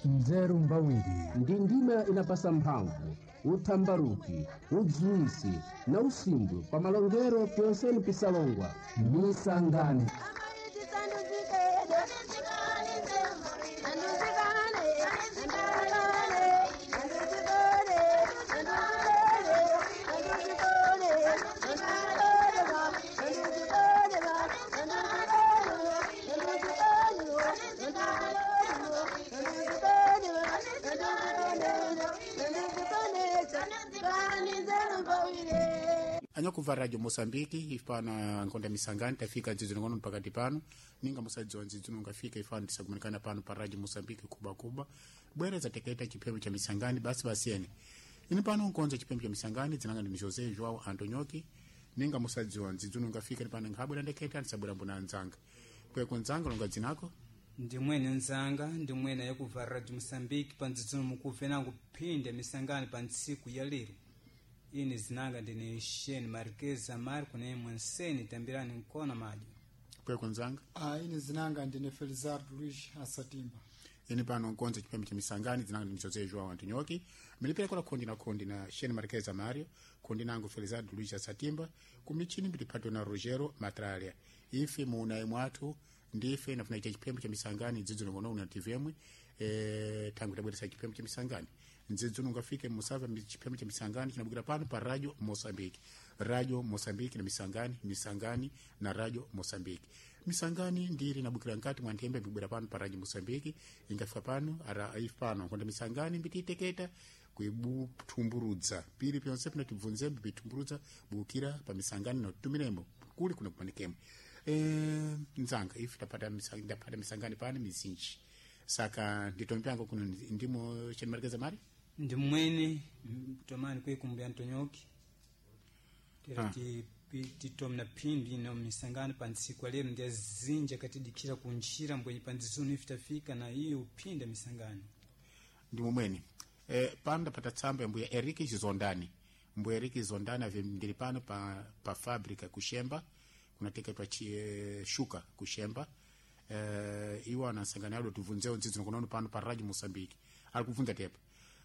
Nzeru mbawiri. Ndi ndima inapasa mphamvu, uthambaruki, udziwisi na usimbwe pa malongero pyonseni pisalongwa. Misangani. Anyakuva radio Moçambique ifana nkonda misangani tafika nzidzino ngono pakati pano ninga musadziwa nzidzino ngafika ifana tisakumanikana pano pa radio Moçambique kuba kuba bwereza tekaita chiphembe cha misangani basi basiyene ini pano nkonza chiphembe cha misangani dzinanga ndi José João Antonioki ninga musadziwa nzidzino ngafika pano nkhabwera ndeketa ndisabwera mbona anzanga kweko nzanga longa dzinako. Ndimwene nzanga, ndimwene yakuva radio Moçambique pandzidzino mukuve nangu phinde misangani pa ntsiku ya lero. Ine zinanga ndine Shane Marquez Marco ne mwenseni tambirani nkona madyo. Kweko nzanga. Ine zinanga ndine Felizardo Luiz Asatimba. Ini pano nkonza chipembe cha misangani dzinanga ndi José João Antonioki milipira khondi na khondi na Shane Marquez Mario khondi nangu Felizardo Luiz Asatimba kumichini mbiliphato na Rogero Matralia ife munayi mwathu ndife nafuna icha chipembe cha misangani ndzidzo ngono una TVM tangu tabweresa chipembe cha misangani ndzidzo ngafike musava chipembe cha misangani chinabukira pano pa radio Moçambique. Radio Moçambique na misangani, misangani na radio Moçambique. Misangani ndiri nabukira nkati mwa nthembe mbibwera pano pa radio Moçambique ingafika pano ara if pano konda misangani mbititeketa kuibutumburudza pili pyonse pino tibvunze mbitumburudza bukira pa misangani notumiremo kuli kuno kumanikemo. Nzanga ife tapata misangani, ndapata misangani pano mizinji saka nditompango kuno ndimo chenimarekeza mari. Ndimwene tomani kwekumbuya Antonioki tera titomna phindi na misangano pa ntsiku ya lero ndi azinja katidikira kunjira mbwenye pa ndzizunu ife tafika na iyo uphinda misangano. Ndimo mwene pano ndapata tsamba ya mbuya Eric Zondani. Mbuya Eric Zondani ave ndili pano pa fábrica kuxemba kunateketwa shuka kuxemba. Iwo anasangana alo tibvunzeo ndzidzino kunono pano pa radio Moçambique ali kubvunza tepa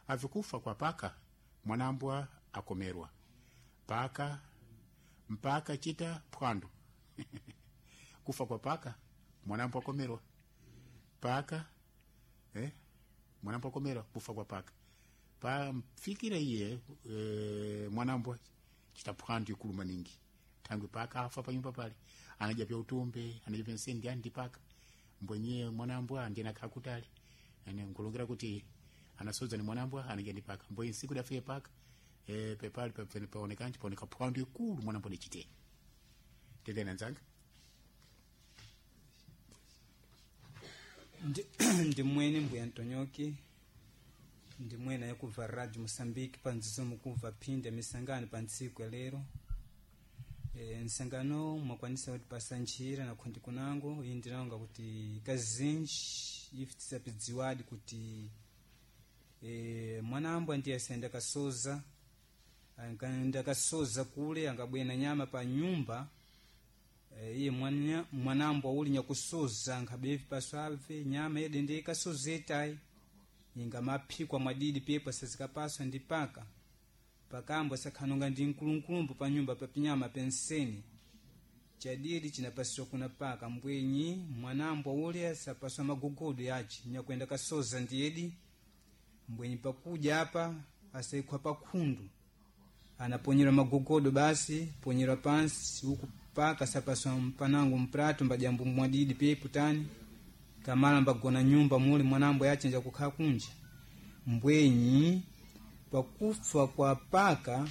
avikufa kwa paka mwanambwa akomerwa paka mpaka chita phwando. Kufa kwa paka mwanambwa akomerwa paka mwanambwa akomerwa kufa kwa paka pa mfikira iye mwanambwa chita phwando ikulu maningi thangwi paka afa panyumba pale anaja pya utumbe anaja pya nsendi andi paka mbwenye mwanambwa ndiye nakhala kutali ene nkulongera kuti anasodza ni mwanambwa anaja ndi paka mbwenye nsiku dafike paka pepali paonekanji paoneka phwando ikulu mwanambwa dichite tendena nzanga. Ndimwene mbuya Antonioki ndimwene yakuva radio Moçambique pandzidzo mukuva phinda misangano pa ntsiku ya lero. Nsangano mwakwanisa kuti pasa njira na khondi kunango iyi ndinanga kuti kazinji ife tisapidziwadi kuti mwanambwa ndiye asayenda kasoza ankaenda kasoza kule angabwena nyama pa nyumba. Iye mwanambwa uli nyakusoza ankhabe paswave nyama yede ndiye kasoza etayi ingamaphikwa mwadidi pepo sazikapaswa ndi paka pakambwa sakhanonga ndi mkulunkulumbu pa nyumba pa pinyama penseni chadidi chinapaswa kuna paka mbwenyi mwanambwa ule asapaswa magogodo yace nyakwenda kasoza ndiyedi mbwenyi pakuja apa asaikhwa pakhundu anaponyera magogodo basi ponyera pansi uku paka sapaswa mpanango mprato mbajambo mwadidi pepo tani kamala mbagona nyumba muli mwanambwa yace njakukhala kunja mbwenyi pakufa kwa paka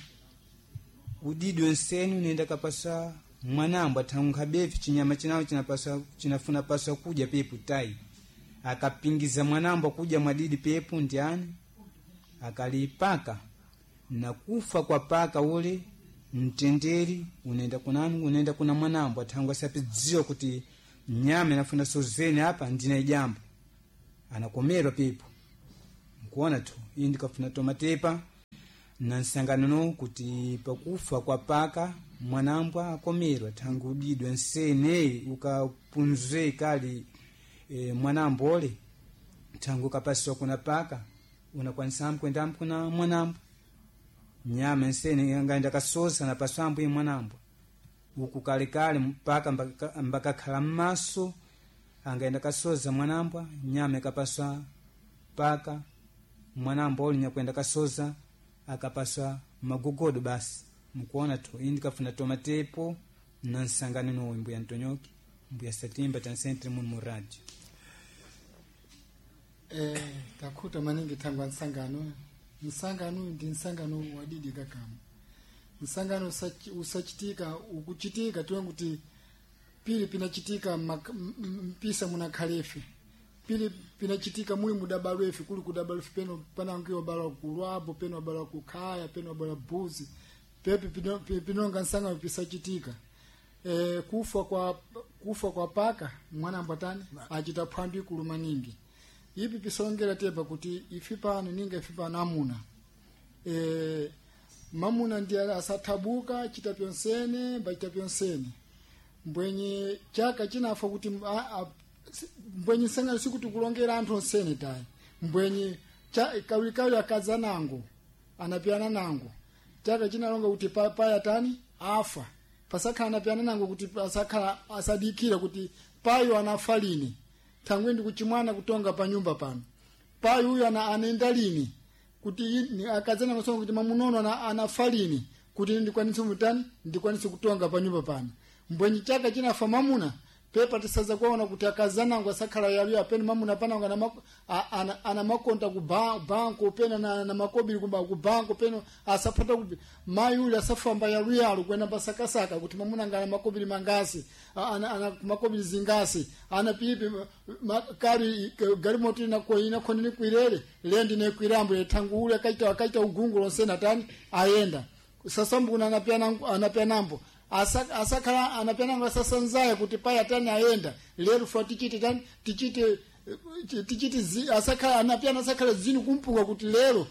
udidi wenseni unaenda kapasa mwanambwa thankhabevi chinyama chinawo chinapasa chinafuna paswa kudya pepu tai akapingiza mwanambwa kudya mwadidi pepu ndiani akalipaka na kufa kwa paka ule mtenderi unaenda kunani unaenda kuna mwanambwa thangu asapidziwa kuti nyama inafuna sozeni apa ndina ijambo anakomerwa pepu nkuona tu iyi ndikafuna tomatepa na nsangano no kuti pakufa kwa paka mwanambwa akomerwa thangu udidwe nsene ukapunzwe kali mwanambwa ole. Thangu kapasiwa kuna paka unakwanisa kwenda kuna mwanambwa nyama nsene angaenda kasoza napaswa ambu mwanambwa uku kalekale mpaka mbakakhala mmaso angaenda kasoza mwanambwa nyama ikapaswa paka mwanambwa uli nyakwenda kasoza akapaswa magogodo basi mukuona tu indi kafuna tomatepo na nsangano nowe mbuya Ntonyoki mbuya Satimba tansentre munu mu radio. Takhuta maningi thangwa nsangano. Nsangano ndi nsangano wadidi kakamu. Nsangano usachitika ukuchitika tiwe kuti pili pinachitika mpisa munakhalefe pili pinachitika muli mudabalwefe kuli kudabalwefe peno panangiwa balwa kulwapo peno balwa kukhaya peno balwa buzi pepi pinonga nsangano pisachitika. Kufa kwa paka mwana ambwatani achita phwandu ikulu maningi. Ipi pisongera tepa kuti ifi pano ninga ifi pano amuna mamuna ndiye asathabuka chita pyonsene mbachita pyonsene mbwenye chaka chinafa kuti mbwenye sangano sikuti kulongera anthu onsene tayi mbwenye kawikawi akaza nango anapiyana nango chaka chinalonga kuti paya tani afa pasakhala anapiyana nango kuti pasakhala asadikira kuti payo anafa lini thangwe ndi kuchimwana kutonga pa nyumba pano payo uyu anaenda lini kuti akazana masongo kuti mamunono anafa lini kuti ndikwanise mutani ndikwanise kutonga pa nyumba pano mbwenyi chaka chinafa mamuna pepa tisaza kuona kuti akazanango asakhala yaliyo apeni mamuna panango ana makonta ku banko pena na makobiri kumba ku banko peno asapata ku mayi uli asafamba yaluyalu kwenda pasakasaka kuti mamuna ngana makobiri mangasi ana makobiri zingasi ana pipi kari galimoto inako inakhoneni kwirere lendi nekwirambo thangu uli akaita ugungu lonse natani ayenda sasambuna anapianambo asakhala anapianango asasanzaya kuti paya tani ayenda lero fa tichite tani tichite asakhala anapiana asakhala zinu kumpuka kuti lero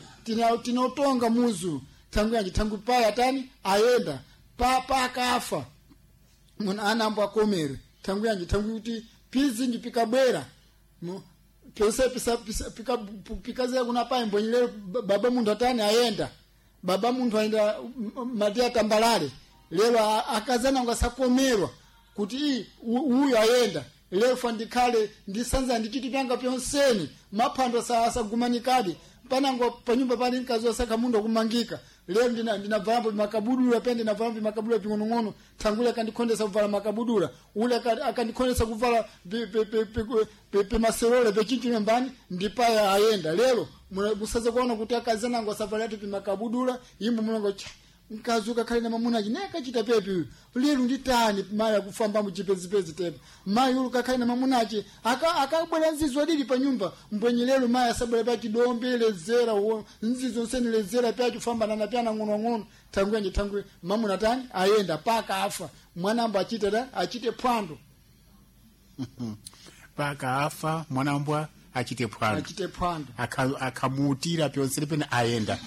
tinotonga muzu thangu yanji thangu paya tani ayenda pakafa mun anambo akomere thangu yanji thangu kuti pizinji pikabwera pyonse pikazera kuna payi mbwenyi lero baba munthu atani ayenda baba munthu ayenda mati atambalale lero akazana ngasakomerwa kuti uyu ayenda lero fa ndikhale ndisanza ndichiti pyanga pyonseni maphando asagumanikadi panango panyumba pani mkazi wasakha mundu akumangika lero ndinavalambo makabudula pe ndinavalambo makabudula ping'onong'ono thangule akandikhondesa kuvala makabudula ule akandikhondesa kuvala pimaserole pechinchino mbani ndipaya ayenda lero musaze kuona kuti akazanango asavalatu pimakabudula imbo mulongo cha mkazi ukakhale na mamuna achi naye akachita pepi uyu lero nditani mayi akufamba muchipezipezi tepa mayi ulu kakhale na mamuna achi akabwera nzizo adili pa nyumba mbwenye lero mayi asabwera pa chidombe lezera nzizo nseni lezera pe achifamba nanapyana ng'onong'ono thangu yanji thangu mamuna tani ayenda paka afa mwanambo achite tani achite phwando paka afa mwanambwa achite phwando achite phwando akamutira pyonse pene ayenda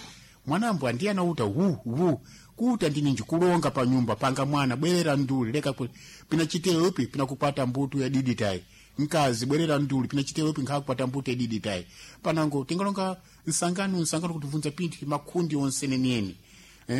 mwanambwa ndiye anauta wu wu kuta ndininji kulonga pa nyumba panga mwana bwerera nduli leka pinachiteyo ipi pinakupata mbutu ya didi tayi mkazi bwerera nduli pinachiteyo ipi nkhakupata mbutu ya didi tayi panango tingalonga nsangano kutibvunza pinthi makhundi onse neneni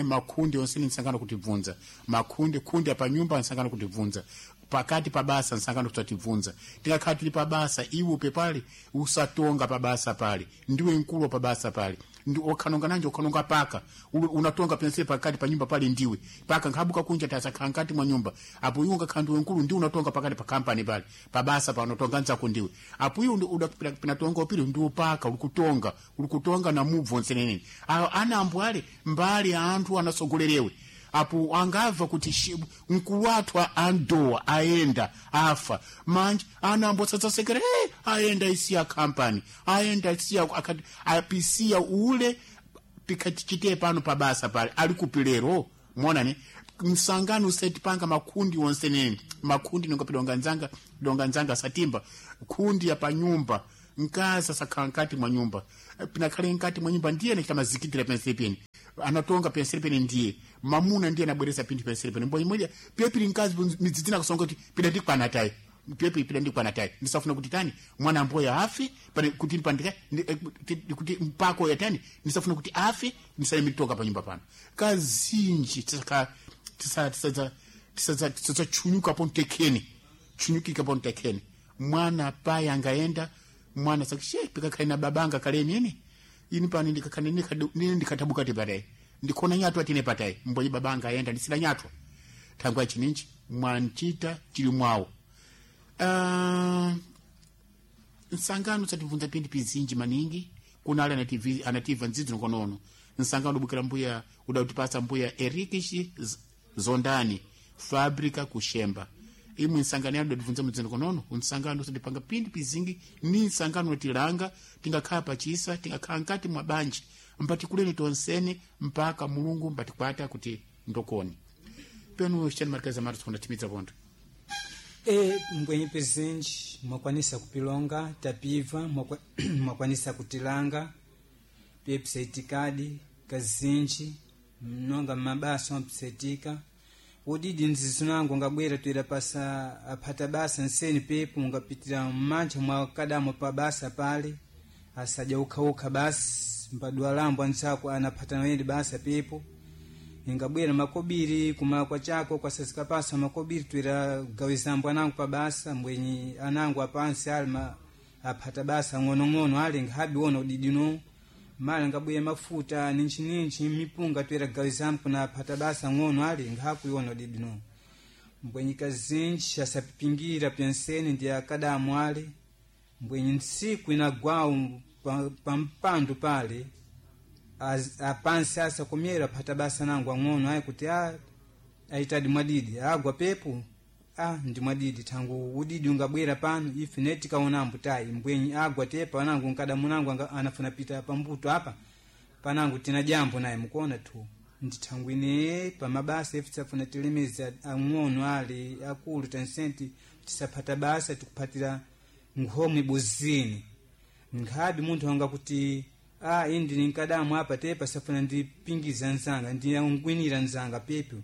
makhundi onse nsangano kutibvunza makhundi khundi apa nyumba nsangano kutibvunza pakati pa basa nsangano kutatibvunza tikakhala tili pa basa iwe pepale usatonga pa basa pale ndiwe mkulu pa basa pale ndi okhanonga nanje okhanonga paka unatonga pense pakati pa nyumba pale ndiwe paka nkhabuka kunja tasakhala nkati mwa nyumba apo iwe ungakhala ndiwe mkulu ndi unatonga pakati pa kampani pale pa basa pa unatonga nzako ndiwe apo iwe pinatonga upili ndi upaka ulikutonga ulikutonga na mubvo nsenenene ana ambu ale mbali anthu anasogolerewe apo angamva kuti mkulu wathu andowa ayenda afa manje ana ambotsadzasekera hey, ayenda isiya kampani ayenda isiya apisiya ule pikatichite pano pabasa pale ali kupilero monane msangano usetipanga makhundi onse nene makhundi nonga pidonga nzanga satimba khundi ya panyumba mkazi asakhala nkati mwa nyumba pinakhale nkati mwa nyumba ndiye anachita mazikitira penseli pene anatonga penseli pene ndiye mamuna ndiye anabweresa pinthu penseli pene mbonyi moja pyepili mkazi midzidzina kusonga kuti pidatikwana tayi pepo ipita ndikwana tayi ndisafuna kuti tani mwana amboya afe pane kuti pandika kuti mpako ya tani ndisafuna kuti afe ndisalemitoka pa nyumba pano kazinji tisaka tisa tisa tisa tisa chunyuka pontekeni chunyukika pontekeni mwana paye angaenda mwana sakishe pikakhale na babanga kale nini ini pano ndikakhale nini ndikatabuka tipatayi ndikhona nyatwa tine patayi mbonye babanga ayenda ndisina nyatwa thangwa chininchi mwanchita chili mwawo. Nsangano satibvunza pindi pizinji maningi kuna ali anativa nzidzo nkonono nsangano ubukira mbuya udautipasa mbuya Erikishi Zondani Fabrika kushemba imwe nsangano yanu datibvunza mudzidzo nkonono unsangano usatipanga pindi pizingi ni nsangano unatilanga tingakhala pachisa tingakhala nkati mwa banja mpatikuleni tonsene mpaka Mulungu mpatikwata kuti ndokoni penu chani marikazi amati tikundatimidza pontho. E mbwenyi pizinji mwakwanisa kupilonga tapiva mwakwanisa kutilanga pyepisaitikadi kazinji mnonga mmabasa mwapisaitika udidi nzizo nangu ngabwera toera pasa aphata basa nseni pepo mungapitira mmantha mwakadamo pa basa pale asadya ukhaukha basi mpadwalambo anzako anaphata nayendi basa pepo ingabwera makobiri kumakwa chako kwasazikapasa makobiri twira gawizambo anangu pa basa mbwenyi anangu apansi ali aphata basa ng'onong'ono ali nkhabi wona udidino mala ngabwera mafuta ninchinинchi mipunga twira gawizambo kuna aphata basa ng'ono ali nkhakuiona udidino mbwenyi kazinji asapipingira pyenseni ndi akadamu ali mbwenyi ntsiku inagwawu pampando pale apansi asakomera aphata basa nangu ang'ono ayi kuti aitadi mwadidi agwa pepo ndi mwadidi thangu udidi ungabwera pano ife ne tikaonambo tayi mbwenyi agwa tepa anangu nkadamu nangu anafuna pita pambuto apa panangu tina jambo naye mukuona tu ndithangu ine pamabasa ife tisafuna tilemeze ang'ono ali akulu tansenti tisaphata basa tikuphatira nkhomwe buzini nkhabi munthu anga kuti indi ninkadamu apa tepa safuna ndipingiza nzanga ndiyangwinira nzanga pepo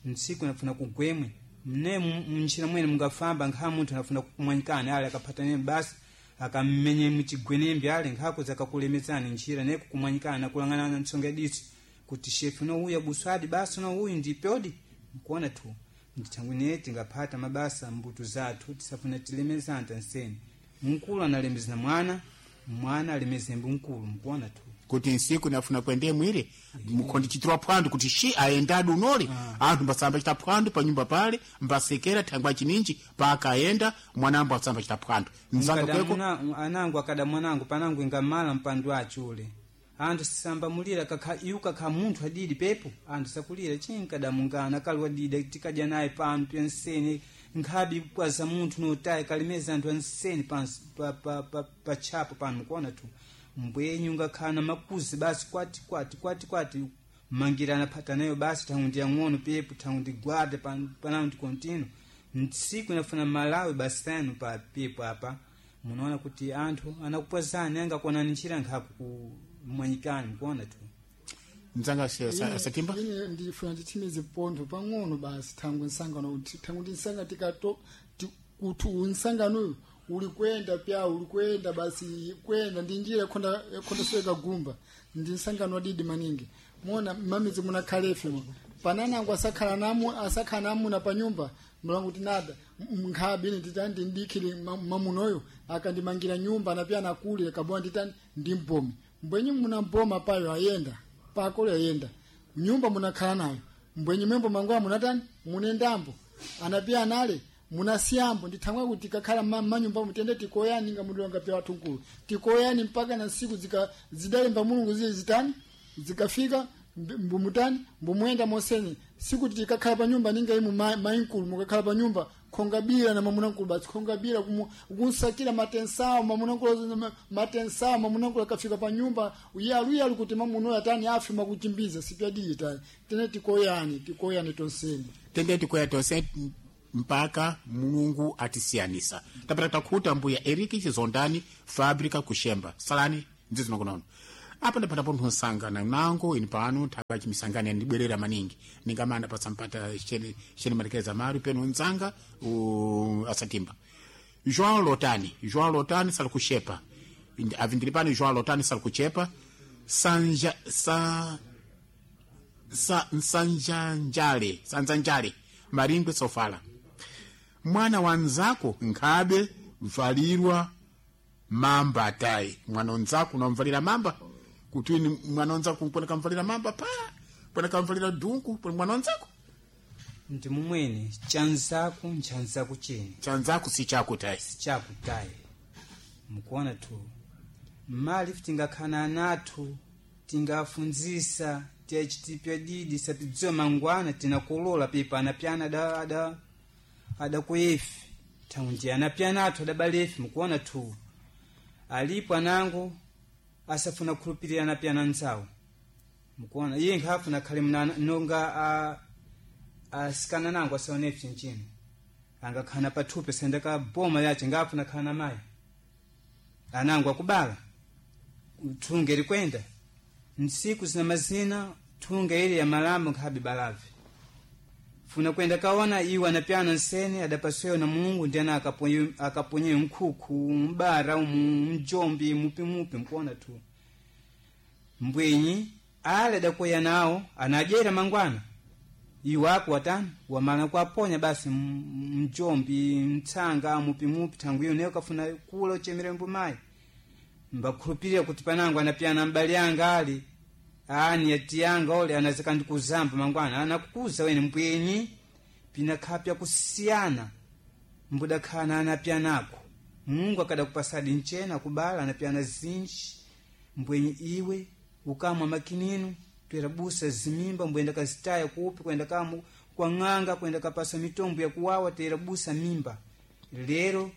ntsiku nafuna kugwemwe mne mntchira mwene mungafamba nkha munthu anafuna kukumwanyikani ali akaphatane basi akammenye muchigwenembe ali nkhakuza akakulemezani ntchira ne kukumwanyikana nakulang'anana ntsonga diso kuti shefu nouya buswadi basi nouyu ndipyodi nkuona tu ndithangwine tingaphata mabasa mbuto zathu tisafuna tilemezana tanseni mkulu analemezana mwana mwana alemezembe mkulu mkuona tu kuti nsiku nafuna kuende mwire mukhondi chitira phwando kuti shi aendadi unoli anthu mbasamba chita phwando pa nyumba pale mbasekera thangwa chininji pakaenda mwanambo asamba chita phwando mzanga kweko anangu akada mwanangu panangu ingamala mpando acho ule anthu sisambamulira kakha iwu kakha munthu adidi pepo anthu sakulira chinkadamungana kali wadida tikadya naye pano pyenseni nkhabi kwaza munthu notayi kalemeza anthu anseni pansi pa tchapo pano mukuona tu mbwenyi ungakhala na makuzi basi kwati kwati kwati kwati mangirana phata nayo basi thangu ndi yang'ono pepo thangu ndi gwada panangu ndi kontino ntsiku inafuna malawi basi tanu pa pepo apa munaona kuti anthu anakupwazani angakuonani ntchira nkhaku kumwanyikani mukuona tu mzanga satimba ine ndifuna ndithimize pontho pang'ono basi thangu nsangano thangu ndi nsanga tikato kuti unsanganoyu uli kwenda pya uli kwenda basi kwenda ndi njira yakhonda yakhonda gumba ndi nsangano wadidi maningi mona mamizi munakhalefe mo pananango asakhala namu asakhala namuna pa nyumba mlangu tinada nkhabi ine nditani ndindikhile mamunoyo akandimangira nyumba anapya nakule kabowa nditani ndimpome mbwenyi munampoma payo ayenda pakolo ayenda nyumba munakhala nayo mbwenyi mwembo mangowa munatani munendambo anapya anale munasiyambo ndithangwa kuti kakhala manyumba mutende tikoyani nga mudonga pya wathunkulu tikoyani mpaka na siku zika zidalemba Mulungu zile zitani zikafika mbumutani mbumwenda moseni siku tikakhala pa nyumba ninga imu mainkulu mukakhala pa nyumba khongabira na mamunankulu basi khongabira kunsakira matensawo mamunankulu matensawo mamunankulu akafika pa nyumba uyaluyalu kuti mamunoyo atani afe makuchimbiza sipyadiye tani tene tikoyani tikoyani tonseni tende tikoya tonse mpaka Mulungu atisiyanisa tapata takhuta mbuya Eriki Chizondani Fabrika kushemba salani nzizo nokonono apa ndapata pontho nsangana nango ini pano thaka chimisangano yandibwerera maningi ningamana pasampata chene chene malekeza mari peno nzanga asatimba. João Lotani, João Lotani sali kuxepa. Avindiri pano João Lotani sali kuchepa. Sanja sa sa nsanjanjale, sanzanjale, Maringwe Sofala. Mwana wanzako nkhabe valirwa mamba tayi. Mwana wanzako unamvalira mamba kuti ni mwana wanzako pona kamvalira mamba pa pona kamvalira dunku pona mwana wanzako Ndi mumwene chanzaku nchanzaku chene chanzako si chako tayi. sichakutayi. Mukuona tu mali tingakhala nathu tingafunzisa tiyachitipya didi sapidziwa mangwana tinakolola pipa anapyana ada ada adakuyefi thaundi anapyana athu adabalefi. Mukuona tu alipo anango asafuna kukhulupirira anapyana nzawo. Mukuona iye nkhafuna khale mnana nonga a asikana nango asaonefi chinchino angakhana pathupi sendeka boma yace ngafuna khana mayi anango akubala thunge likwenda ntsiku zina mazina thunge ili ya malambo nkhabe balavi funa kwenda kaona iwe anapyana nsene adapasweyo na Mulungu ndi ana akaponyeyo mkhukhu mbara umu mjombi mupimupi. Mkuona tu mbwenyi ale adakoya nawo anadyera mangwana iwe ako watani wamala kuaponya basi mjombi mtsanga mupimupi thangu iyo nayo kafuna kula uchemere mbumayi mbakhulupirira kuti panango anapyana mbali yanga ali ani ati yanga ole anazika ndikuzamba mangwana anakukuza wene mbwenyi pinakhapya kusiyana mbudakhala anapyanako Mulungu akadakupasadi nchena kubala anapyana zinji mbwenyi iwe ukamwa makinino twera busa zimimba mbwenda kazitaya kupi kwenda kamu kwa ng'anga kwenda kapasa mitombo ya kuwawa tera busa mimba lero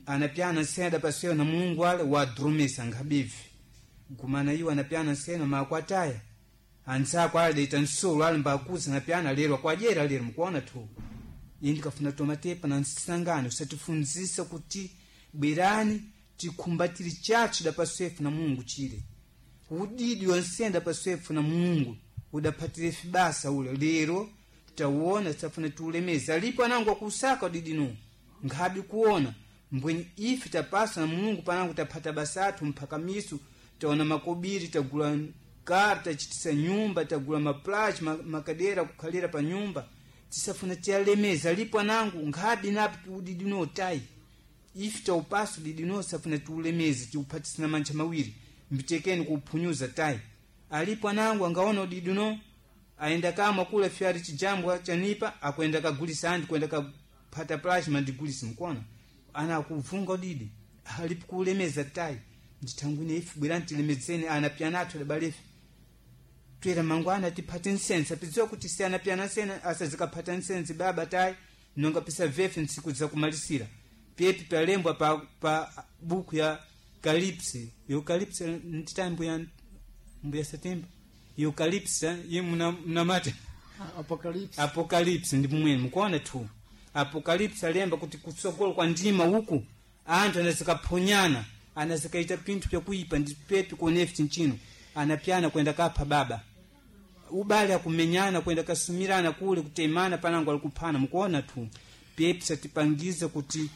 anapyana nsena adapaswewa na Mulungu ale wadrumisa nkhabivi gumana iwo anapyana nsena makwataya anzako ale daita nsolo ale mbakuza anapyana lero akwadyera lero. Mukuona tu indi kafuna tomatepa na nsangano usatifunzisa kuti bwerani tikhumbatire chathu dapaswefu na Mulungu chile udidi wansenda paswefu na Mulungu udaphatire fibasa ule lero tawona tafuna tiulemeza alipo anango akusaka udidi nu nkhabi kuona mbwenyi ife tapasa na Mulungu panango taphata basa athu mphakamisu taona makobiri tagula kar tachitisa nyumba tagula maplachi makadera kukhalira pa nyumba tisafuna tiyalemeza alipo anango nkhabi napi udidi no tayi ife taupasa udidi no safuna tiulemeze tiuphatisana mantcha mawiri mbitekeni kuuphunyuza tayi alipo anango angaona udidi no ayenda kamwa kula fyari chijambwa chanipa akwenda kagulisa andi kwenda kaphata plachi mandigulisa. Mkuona ana akuvunga udidi alipo kuulemeza tayi ndithangwine ife bwerani tilemezeni anapyana athu adabalefe twera mangwana tiphate nsense apidziwa kuti si anapyana nsene asazikaphata nsense baba tayi nonga pisa vefe ntsiku zakumalisira pepi palembwa pa buku ya kalipsi eukalipsi nditayi mbuya mbuya satemba eukalipsi ye mnamata Apocalypse. Apokalipsi ndi mumwene mukuona tu apokalipsi alemba kuti kutsogolo kwa ndima uku anthu anazikaphonyana anazikaita pinthu pyakuipa ndi pepi kuonefi chinchino anapyana kwenda kapha baba ubale akumenyana kwenda kasumirana kule kutemana panango alikuphana. Mukuona tu pepi satipangiza kuti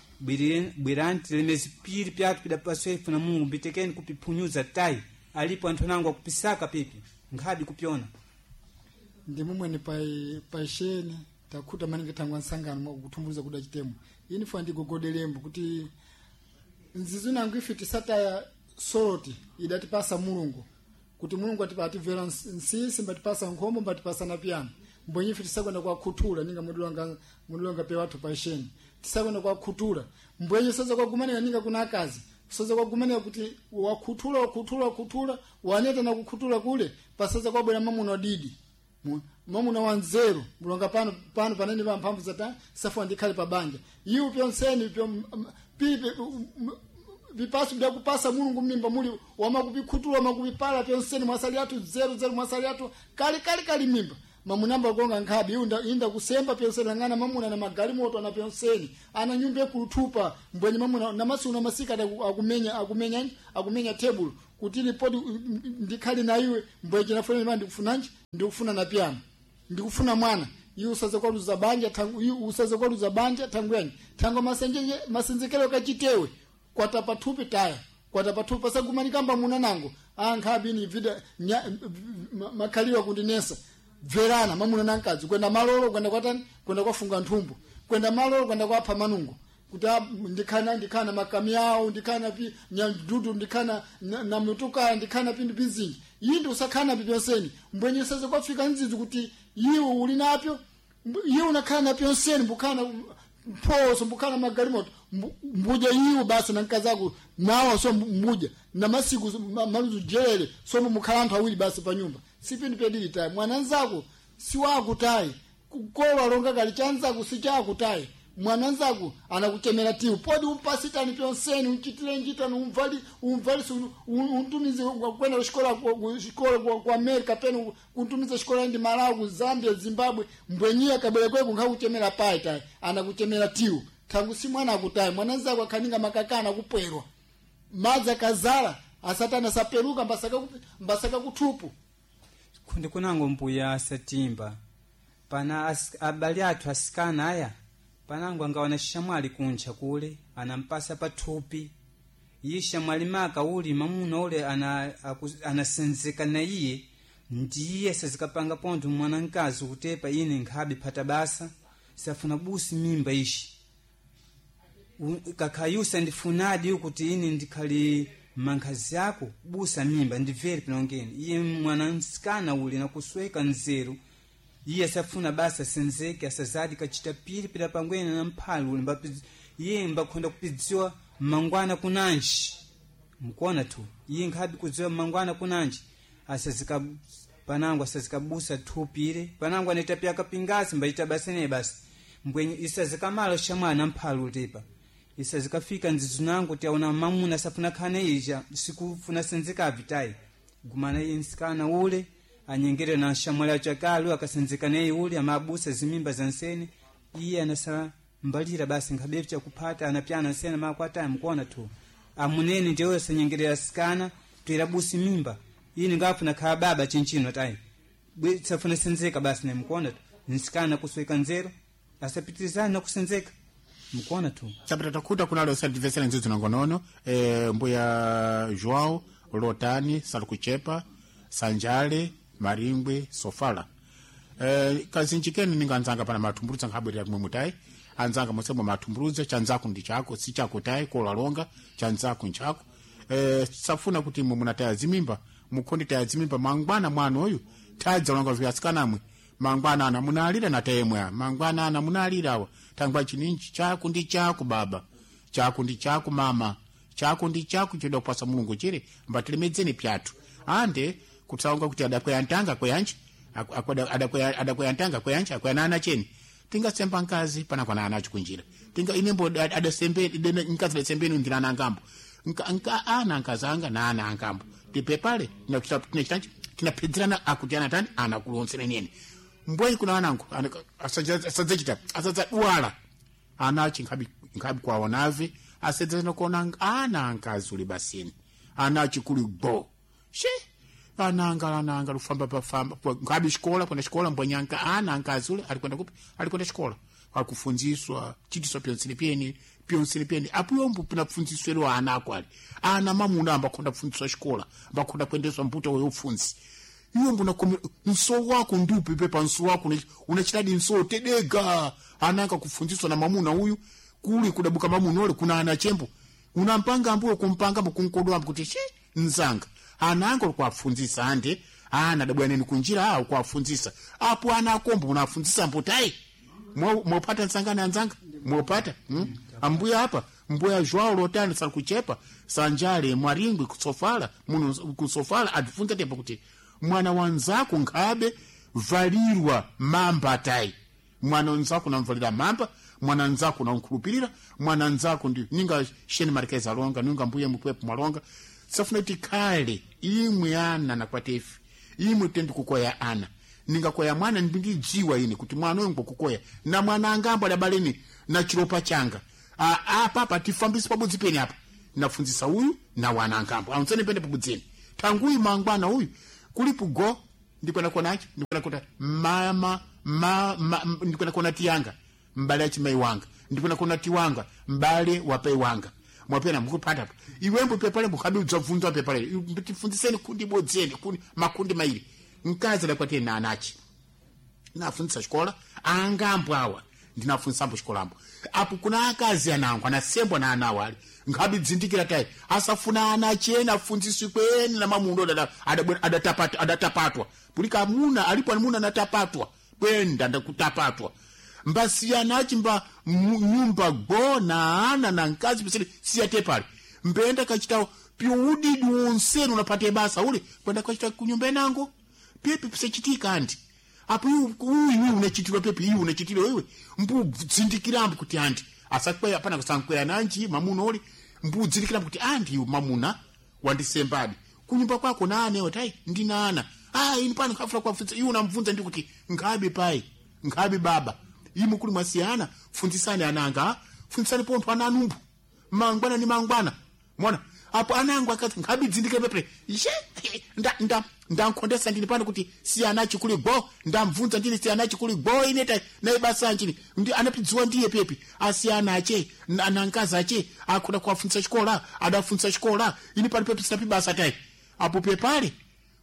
bwerani tilemezi pili pyathu pidapaswefu na Mulungu mbitekeni kupiphunyuza tayi alipo anthu anango akupisaka pepi nkhabi kupyona. Ndi mumwene paisheni takhuta maningi thangwa nsangano mwakuthumbuliza kuda chitemo ini funa ndigogodelembo kuti nzizu nangu ife tisataya soroti idatipasa Mulungu kuti Mulungu atimvera nsisi mbatipasa nkhombo mbatipasa na piyano mbwenye ife tisakwenda kwakhuthula ninga mudulanga pe wathu paisheni tisakwenda kwakhuthula mbwenye soza kwagumanika ninga kuna akazi soza kwagumanika kuti wakhuthula wakhuthula wakhuthula waneta na kukhuthula kule pasoza kwabwera mamuna wadidi mamuna wanzeru mulonga pano pano panene pa mphamvu zata safuwa ndikhale pa banja iwo pyonseni pyo pipe vipasu byakupasa Mulungu mimba muli wamakupikhuthula wamakupipala pyonseni mwasali athu zeru zeru mwasali athu kali kali kali mimba mamunamba gonga nkhabi inda, inda kusemba pyonseni lang'ana mamuna na magalimoto ana pyonseni ana nyumba ekuluthupa mbwenye mamuna namasi una masika akumenya akumenya akumenya table kuti lipoti ndikhali na iwe mbwenye nafunana ndikufunanji ndikufuna na piano ndikufuna mwana Iwe usaze kwaluza banja tangu iwe usaze kwaluza banja tangu yanyi tangu masenzekelo kachitewe kwata pathupi taya kwata pathupi pasagumanikamba muna nango ankhabi vida makhaliwa kundinesa bverana mamuna nankazi kwenda malolo kwenda kwatani kwenda kwafunga nthumbu kwenda malolo kwenda kwapha manungo kuti ndikhana makami awo ndikhana pi nyadudu ndikhana na mutuka ndikhana pindu pizinji yindi usakhana pipyonseni mbwenye seze kwafika nzizi kuti iwe uli napyo iwe unakhala napyonseni mbukhana mphoso mbukhana magalimoto mbuja iwe basi na mkazi ako nawo so mbuja na masiku maluzu jelele so mukhala anthu awiri basi pa nyumba si pindu pyadili tayi mwananzako si wako tayi kukolo alonga kali chanzako si chako tayi mwananzako anakuchemera tiwu podi umpasitani pyonseni unchitire njitani umvali umvalise untumize kwenda kuxikola kuxikola ku America penu kuntumize xikola ndi Malawi ku Zambia Zimbabwe mbwenyiya kabwera kweku nkhakuchemera payi tayi anakuchemera tiwu thangu si mwana akutayi mwananzako akhaninga makakana kupwerwa madzi akazala asatana asaperuka mbasaka kuthupu kundi kunango mbuya asatimba pana abali athu asikana aya panango angawana xamwali kuntcha kule anampasa pathupi iye xamwali maka uli mamuna ule anasenzeka na iye ndiye sazikapanga pontho mwana mkazi kutepa ine nkhabe phata basa safuna busi mimba ixi kakhayusa ndifunadi kuti ine ndikhali mankhazi ako busa mimba ndibvere pinongeni iye mwana msikana ule nakusweka nzeru iye asafuna basa asenzeke asazadi kachita pili pila pangwena na mphali ule iye mbakhonda kupidziwa mangwana kunanji mkuona tu iye nkhabi kudziwa mangwana kunanji asazika panango asazikabusa thupire panango anaita pyaka pingasi mbaita basa ne basi mbwenye isazikamala shamwana mphali utepa isazikafika nzizu nangu tiaona mamuna asafuna khane ija sikufuna senzeka vitayi gumana iye nsikana ule anyengere na shamwali achakalu akasenzeka naye ule amabusa zimimba za nsene iye anasa mbalira basi nkhabevu chakuphata anapyana nsene makwataya mkuona tu amunene ndiye asanyengerera sikana toera busi mimba ine ngafuna khala baba chinchino tayi safuna senzeka basi nemkuona tu nsikana kusweka nzeru asapitirizana nakusenzeka mkuona tu chapita takhuta kunalo osativesera nzizu nangonono mbuya João Lotani Salikuchepa Sanjale Maringwe Sofala kazinji kenu ninga anzanga pana mathumbuludza nkhabwerera kumwe mutayi anzanga mosemo mathumbuludza chanzako ndi chako si chako tayi kolalonga chanzako nchako safuna kuti imwe munataya zimimba mukhondi taya zimimba mangwana mwana uyu tadzalonga vyasikanamwe mangwana ana munalira na tayemwe mangwana ana munalira awa tangwa chininji chako ndi chako baba chako ndi chako mama chako ndi chako choda kupasa mulungu chire mbatilemedzeni pyathu ande kutsaonga kuti adakweya ntanga kweyanji adakweya ntanga kweyanji akweyana ana cheni tingasemba nkazi panakwana ana acho kunjira tinga inembo adasembe nkazi adasembeni ndira ana angambo nka ana nkazanga na ana angambo tipepale tinachitanji tinapedzerana akuti ana tani ana kulonsereneni mbweni kuna anangu asadzachita asadzadwala ana achi nkhabi kwaonave asedzana kuona ana ankazi uli basini ana achi kuli go she ananga ananga lufamba pafamba nkhabi xikola kwenda xikola mbwenyanka ana ankazi ule alikwenda kupi alikwenda xikola akufunziswa chitiswa pyonsene pyeni pyonsene pyeni apuyombo pinafunziswelo ana ako ali ana mamuna ambakhonda kufunziswa xikola ambakhonda kuendeswa mbuto weyofunzi iwe mbona nso wako ndiupi pepa nso wako unachitadi nso tedega ananga kufunziswa na mamuna uyu kuli kudabuka mamuna ule kuna ana chembo unampanga ambuyo kumpanga mkunkodo ambu kuti she nzanga ananga kuwafunzisa ande ana dabwaneni kunjira awo kuwafunzisa apo ana akombo unafunzisa mbutai mwopata nsangani anzanga mwopata Ambuya apa mbuya João Lotani salikuchepa Sanjale Mwaringwi kusofala muno kusofala atifunza tepo kuti mwana wanzako nkhabe valirwa mamba tayi mwana wanzako namvalira mamba mwana nzako namkhulupirira mwana nzako ndi ninga sheni marikeza alonga ninga mbuya mukwepo mwalonga safuna kuti khale imwe ana nakwatefi imwe tendi kukoya ana ningakoya mwana ndindidziwa ine kuti mwana uyu ngokukoya na mwana angambo adabaleni na chilopa changa apa apa tifambise pabudzi peni apa nafunzisa uyu na wana angambo aunzeni pene pabudzeni tanguyu mangwana uyu kulipo go ndikwena konacho ndikwena kota mama Ndikuna kuona tiyanga mbale achimai wanga, ndikuna kuona tiwanga mbale wapai wanga. Mwapena mukupata apa iwembo pepale mukhabi udzabvunzwa pepale tifunziseni kundi bodzeni kundi makundi mairi. Mkazi adakwatire na anachi nafunzisa xikola angambo awa ndinafunzisambo xikolambo apo kuna akazi anango anasembwa na ana awali nkhabi dzindikira tayi asafuna ana achena afunziswe kweni na mamundo adatapatwa pulika amuna alipo amuna anatapatwa kwenda ndakutapatwa mbasiyana achimba nyumba go na ana na mkazi pisili siyate pale mbenda kachitawo piudidi wonseni unapate basa ule kwenda kachita kunyumba inango pepe pisachitika anti apo uyu unachitirwa pepe iyu unachitirwa iwe mbudzindikira kuti anti asakweya apana kusankweya nanji mamuna uli mbudzindikira kuti anti iyu mamuna wandisembadi kunyumba kwako naanewo tai ndinana ah ini pano kafula kwafunza iyu unamvunza ndi kuti nkhabe pai nkhabe baba imu kuli mwasiyana funzisani ananga funzisani pontho ananumbu mangwana ni mangwana mona apo anangu akati nkhabidzindikira pepe ishe nda ndankhondesa ndini pano kuti siyana chikuli go ndamvunza ndini siyana chikuli go ineta naye basa nchini ndi anapidziwa ndiye pepi asiyana ache nankazi ache akhoda kuwafunzisa xikola adafunzisa xikola ini pano pepi sinapi basa tayi apo pepale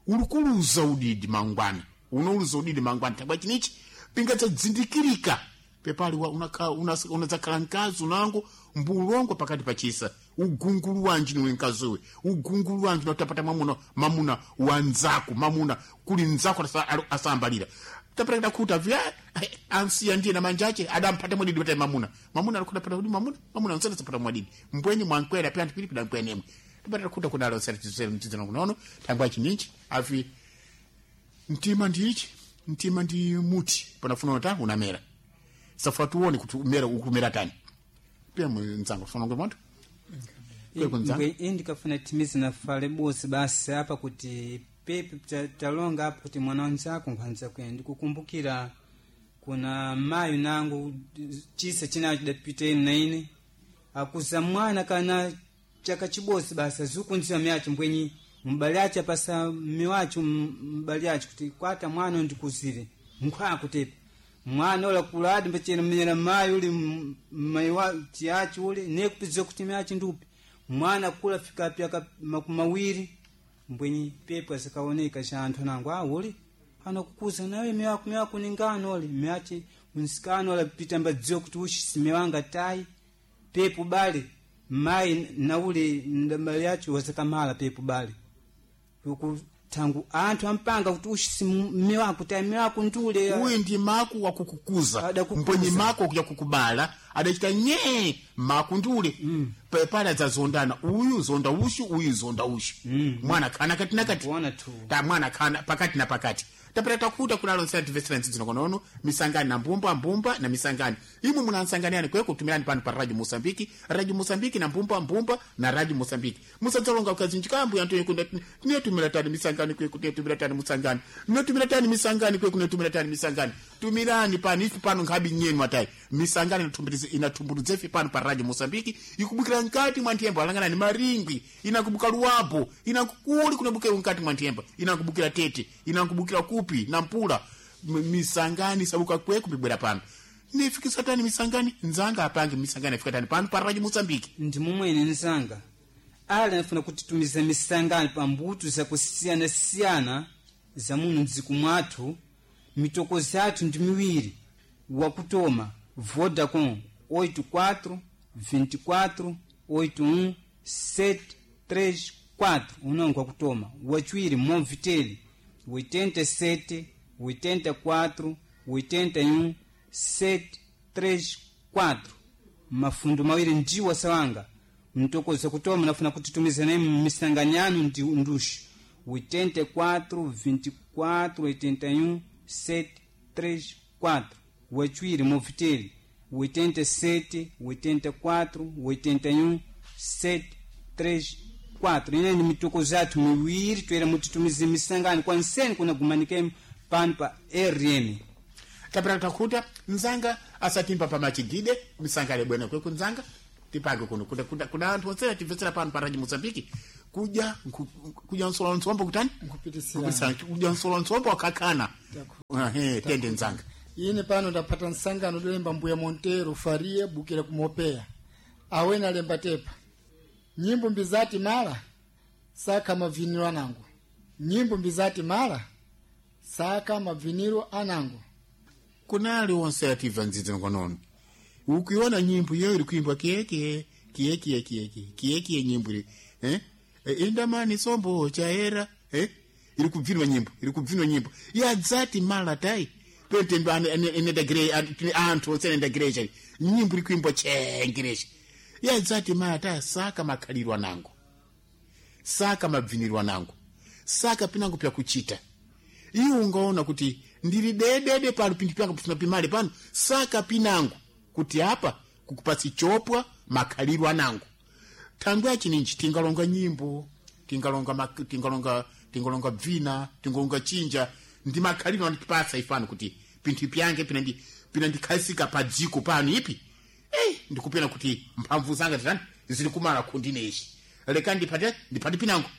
ulikuluza udidi mangwana unauluza udidi mangwana tabwa chinichi pingadzadzindikirika pepali unadzakhala mkazi unango mbulongo pakati pachisa ugungulu wanji niwe mkaziwe ugungulu wanji unatapata mwamuna mamuna wanzako mamuna kuli nzako asambalira tapata kuta vya ansiya ndiye na manjache adampata mwadidi pata mamuna mamuna alikutapata kuti mamuna mamuna nsana sapata mwadidi mbwenye mwankwera pya anthu pili pida mkwenemwe tapata kuta kunalo sera chisere mchidzana kunono tangwa chininchi afi mtima ndiichi mtima ndi muti panafuna uta unamera safa tuone kuti umera ukumera tani pia mnzango funa ngwe moto Indikafuna timizi nafale bosi basi apa kuti pepe talonga apa kuti mwana wanzako nkhanza kwene ndikukumbukira kuna mayi nangu chisa chinacho chidapita ine na ine akuza mwana kana chaka chibosi basi azukunziwa myacho mbwenyi mbali acho apasa miwacho mbali acho kuti kwata mwana ndikuzire nkhwakutepa mwana ula kuladi mbachena mnyera mayi uli mayi wa tiacho uli nekupidziwa kuti myacho ndupi mwana kula fika pyaka makumi mawiri mbwenyi pepo asakaoneka cha anthu anango ah uli anakukuza nawe miwako miwako ningano uli myache msikano ula pita mbadziwa kuti ushi simewanga tai pepo bali mayi nauli ndambali yacho wasakamala pepo bali uku tangu anthu ampanga kuti ushi simiwako tai miwako ndule uyu ndi maku wakukukuza Adakukuza. mbwenye maku wakuja kukubala adachita nye maku ndule pepala adzazondana uyu zonda ushu uyu zonda ushu mwana khana kati na kati Kuona tu. ta mwana khana pakati na pakati tapita takuta kunalo nsena timvetsera ntsidzino konono misangani na mbumba mbumba na misangani imwe munansanganiyani kweko tumirani pano pa radio Mosambiki radio Mosambiki na mbumba mbumba na radio Mosambiki musadzalonga ukazinjikambu yantu yekunda tinetumira tani misangani kweku tinetumira tani musangani minotumira tani misangani kweku tinetumira tani misangani tumirani pano ife pano nkhabi nyenu atayi misangani inatumbuludza ife pano pa radio Mosambiki ikubukira mkati mwa nthemba alangana ni maringwi inakubuka luwapo inakukuli kunabukira mkati mwa nthemba inakubukira tete inakubukira kupi na mpula misangani sabuka kweku mibwera pano nifikisa tani misangani nzanga apange misangani afika tani pano pa radio Mosambiki ndi momwene nzanga ali anafuna kutitumiza misangano pa mbuto zakusiyana-siyana za muno mdziko mwathu mitokozi athu ndi miwiri wakutoma Vodacom 84 24 81 734 unongo wakutoma wachiwiri Movitel 87 84 81 734 mafundo mawiri ndiwo asawanga mtokoza kutoma nafuna kutitumiza naye misanganyano ndi nduxi 84 24 81 734 wachiwiri Movitel 87 84 81 734 ine ni mitokozo yathu miwiri toera mutitumize misangano kwa nseni kunagumanikemo pano pa rm tapita takuta nzanga asatimba pamachigide misangano bwene kweku nzanga tipange kuno kuna anthu onse atimvetsera pano pa radio Mozambique kudya kudya nsola ntsombo kutani Nkupitisirana. Kupitisirana. Kudya nsola ntsombo wakakana. Ehe, tende nzanga. Ine pano ndapata nsangano dolemba Mbuya Montero Faria bukira kumopea awena lemba tepa nyimbo mbizati mala saka maviniro anangu, nyimbo mbizati mala saka maviniro anangu. Kunali onse ativa ndzidzi nkonono ukiona nyimbo iyo iri kuimbwa kiekie kiekie kiekie kiekie nyimbo iri eh? Indamani sombo chaera eh? Iri kubvinwa nyimbo, iri kubvinwa nyimbo yadzati mala tai pete enedagire anthu onse enedagire chai nyimbo iri kuimbwa chengerechi yadzati mala tai saka makhalirwa nangu, saka mabvinirwa nangu, saka pinango pyakuchita. Iwe ungaona kuti ndiri dedede pano pinthu pyanga pifuna pimale pano saka pinango kuti apa kukupatsi chopwa makhalirwa anango. Thangwe achininji tingalonga nyimbo, tingalonga tingalonga tingalonga bvina, tingalonga chinja ndi makhalirwa anatipasa ifano kuti pinthu pyange pinandikhazika pa dziko pano ipi ndikupena kuti mphamvu zanga titani zili kumala kundinechi leka ndipate ndipate pinango.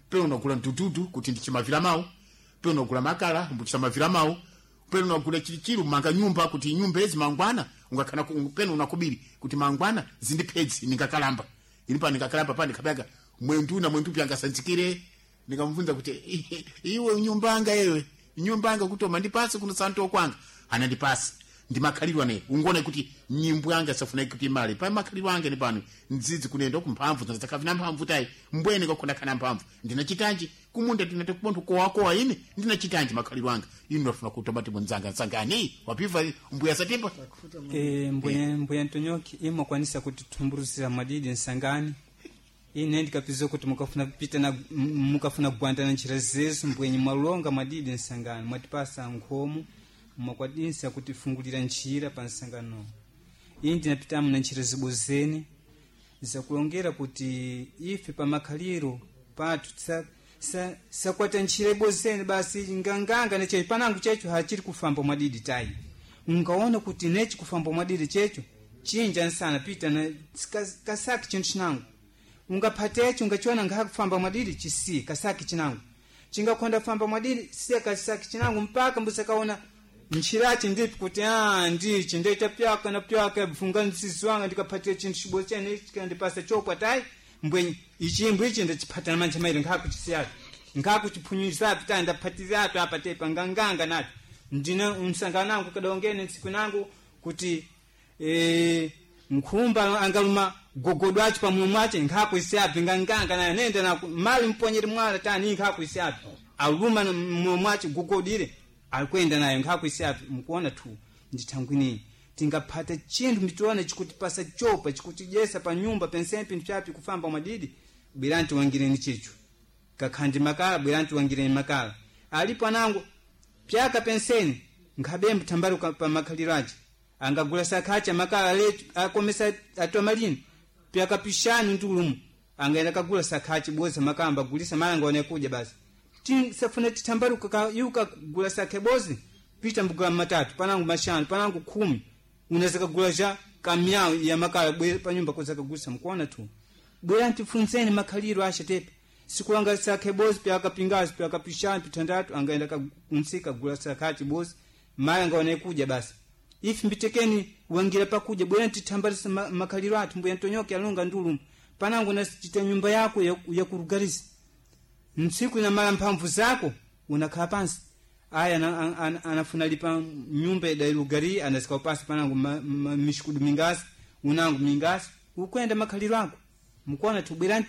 Peno unagula mdududu kuti ndichimavira mawu, peno unagula makala mbuchisamavira mawu, peno unagula chilichili manga nyumba kuti nyumba ezi mangwana ungakhala peno unakubiri kuti mangwana zindipedzi ningakalamba ini pa ningakalamba pa ndikapyanga mwendu na mwendu pyanga sanzikire. Nikamvunza kuti iwe nyumba anga iwe nyumba anga kuti mandipasi kuno santo kwanga anandipasi ndimakhalirwa ne ungone kuti nyimbo yanga safuna kuti mali pa makhalirwa anga ne pano ndzidzi kunenda kumphamvu zakavina mphamvu tai mbwene kwakhona kana mphamvu ndinachitanji kumunda ndinati kubontho kowakowa ine ndinachitanji makhalirwa anga ine ndafuna kutomati mwenzanga nsangani wapiva mbuya satimba. Mbuya Ntonyoki imwakwanisa kutithumbulusira mwadidi nsangani ine ndikapiza kuti mukafuna pita na mukafuna kugwanda na njira zezu mbwenye mwalonga mwadidi nsangani mwatipasa nkhomo mwakwadinsa kutifungulira njira pa nsangano. Ine ndinapitamo na njira zibozeni zakulongera kuti ife pa makhaliro pathu sakwata njira ibozeni basi nganganga nechecho panangu checho hachiri kufamba mwadidi tayi. Ungaona kuti nechi kufamba mwadidi checho chinja nsana pita na kasaki chinthu chinangu ungaphatecho ungachiona ngakhakufamba mwadidi chisiye kasaki chinangu chingakhonda kufamba mwadidi siya kasaki chinangu mpaka mbusakaona nchirachi ndipi kuti ndichi ndoita pyaka na pyaka bvunga mzizi wanga ndikaphatira chinthu chibodzi chene chikandipasa chopwa tayi mbwenye ichimbo ichi ndachiphatana manja mairi nkhakuchisiyatu nkhakuchiphunyuzapi tayi ndaphatirapi apa tepa nganganga nacho ndina msangano angu kadaongene ntsiku nangu kuti nkhumba angaluma gogodo acho pamulomo ache nkhakuisiyapi nganganga nayo nenda naku mali mponyere mwala tani nkhakuisiyapi aluma mulomo ache gogodire alikwenda nayo nkhakuisiyapi mukuona tu ndithangwini tingaphata chinthu mitiona chikutipasa chopa chikutidyesa pa nyumba pensempi pinthu chapi kufamba mwadidi bwerani tiwangireni chicho kakhandi makala bwerani tiwangireni makala alipo anango pyaka penseni nkhabembe thambali pa makhaliro ache angagula sakhacha makala letu akomesa atomalini pyaka pishani ndulumu angaenda kagula sakhachi boza makamba agulisa malanga one kudya basi safuna tithambaluka yuka gula sakhe bozi pita mbugula matatu panangu mashanu panangu 10 unaweza kagula ja kamyawu ya makala bwe panyumba koza kagulisa mkuona tu bwera ntifunzeni makhaliro asha tepe sikulanga sakhe bozi pyaka pingazi pyaka pishani pitandatu angaenda kunsika gula sakhachi bozi malanga one kudya basi ifi mbitekeni wangira pakuja bwera ntithambalisa makhaliro athu mbuya Ntonyoke alonga ndulumu panangu nasichita nyumba yako yakurugarisa ntsiku inamala mphamvu zako unakhala pansi aya anafuna lipa nyumba idalugari anasika pansi panangu mishikudu mingasi unangu mingasi ukwenda makhaliro ako mukuona tubwera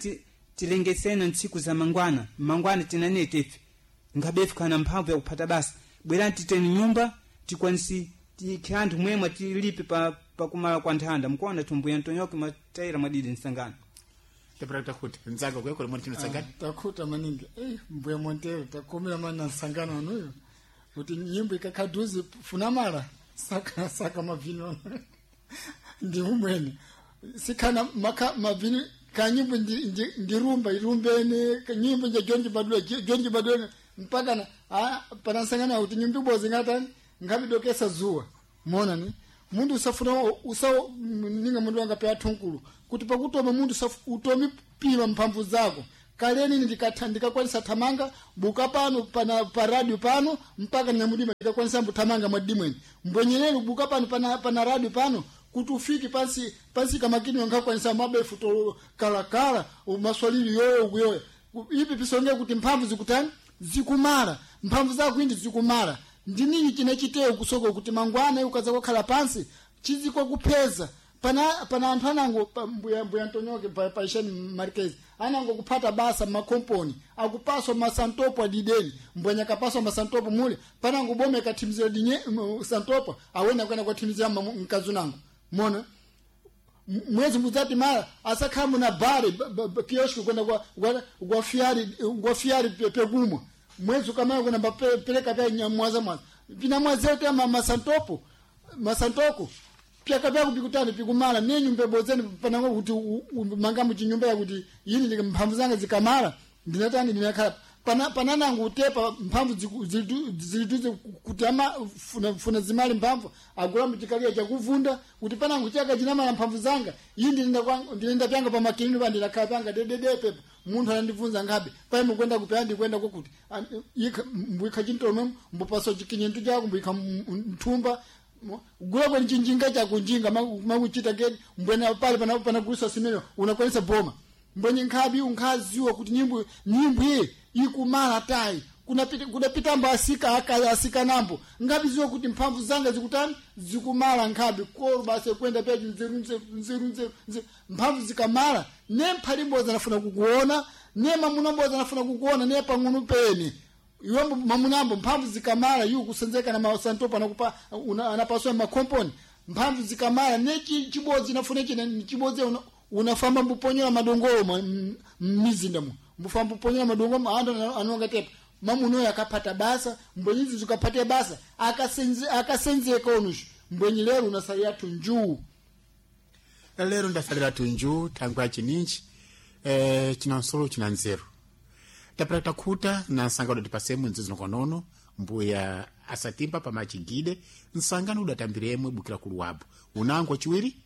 tilengesene ntsiku za mangwana mangwana tinanete ife ngabefu kana mphamvu yakuphata basi bwera titeni nyumba tikwanisi tikhe mwemwe tilipe pakumala kwa nthanda mukuona tumbuya Ntonyoke matayira mwadidi nsangano. Tapata kuti nzanga kuyakula mwana chino sangani Takhuta maningi Mbuya Montero takomera mani na nsangano anuyo kuti nyimbo ikakhaduzi funa mala saka saka mavino ndi umwene sikhana maka mavino kanyimbo ndirumba irumbene kanyimbo nja jonji badula jonji badula mpaka na panansangana kuti nyimbo ibozi ngatani ngabidokesa zuwa mona ni mundu usafuna usa ninga mundu wanga pe athunkulu kuti pakutoma mundu utomi pima mphamvu zako Kaleni ndikakwanisa thamanga buka pano pana pa radio pano mpaka nyamudima ndikakwanisa mbuthamanga mwadimweni mbwenyerero buka pano pana radio pano kuti ufike pansi pansi kamakini wankakwanisa mabefu to kalakala maswalili yoyo kuyoya ipi pisonge kuti mphamvu zikutani zikumala mphamvu zako indi zikumala ndinini chinachiteyo kusoko kuti mangwana ukaza kukhala pansi chiziko kupeza pana anthu anango mbuya Antonioke paisheni Marquez anango kuphata basa makomponi akupaswa masantopo adideni mbwenya kapaswa masantopo mule panango bome kathimizira dinye santopo awena kwena kwathimizira mkazi nango mona mwezi muzati mara asakhala muna bare kioski kwenda kwa fiari pekumwa mwezi ukamaya kwenda peleka pya mwaza mwaza pina mwazete masantopo masantoko pyaka pyako pikutani pikumala nenyu mbebozeni panango kuti manga muchinyumba yakuti yini mphamvu zanga zikamala ndinatani ndinakhala pananango utepa mphamvu zilituze kuti ama funa zimali mphamvu agula muchikaliya chakuvunda kuti panango chaka chinamala mphamvu zanga iyi ndinenda pyanga pamakinini pa ndinakhala pyanga dedede pepa munthu anandibvunza ngabe pai mukwenda kupya ndikwenda kokuti mbuyikha chintolomwe mbupasa chikinyentu chako mbuyikha mthumba gula kweni chinjinga chakunjinga makuchita keni mbwena pale panagulisa simene unakwanisa boma mbwenye nkhabi unkhaziwa kuti nyimbo iyi ikumala tayi kunapitambo asika asikanambo nkhabi ziwa kuti mphamvu zanga zikutani zikumala nkhabi kolo basi kwenda pyachi nzeru nzeru nzeru nzeru nzeru mphamvu zikamala ne mphali mbodzi anafuna kukuona ne mamuna mbodzi anafuna kukuona ne pang'ono pene iwe mamunambo mphamvu zikamala iwo kusenzeka na masantopo anakupa anapaswa makomponi mphamvu zikamala ne chibodzi nafuna chine chibodzi unafamba mbuponyola madongolo mmizinda mu mbufamba mbuponyola madongolo andu anonga tepa mamunoyo akapata basa mbwenyizi zikapate basa akasenzeka onushu mbwenyi lero unasalira tunjuu lero ndasalira tunjuu thangwi achininji china nsolo china nzeru tapata takhuta na nsangano tipasemo nzizi konono mbuya asatimba pamachigide nsangano udatambiremwe bukira kuluwabu unango wachiwiri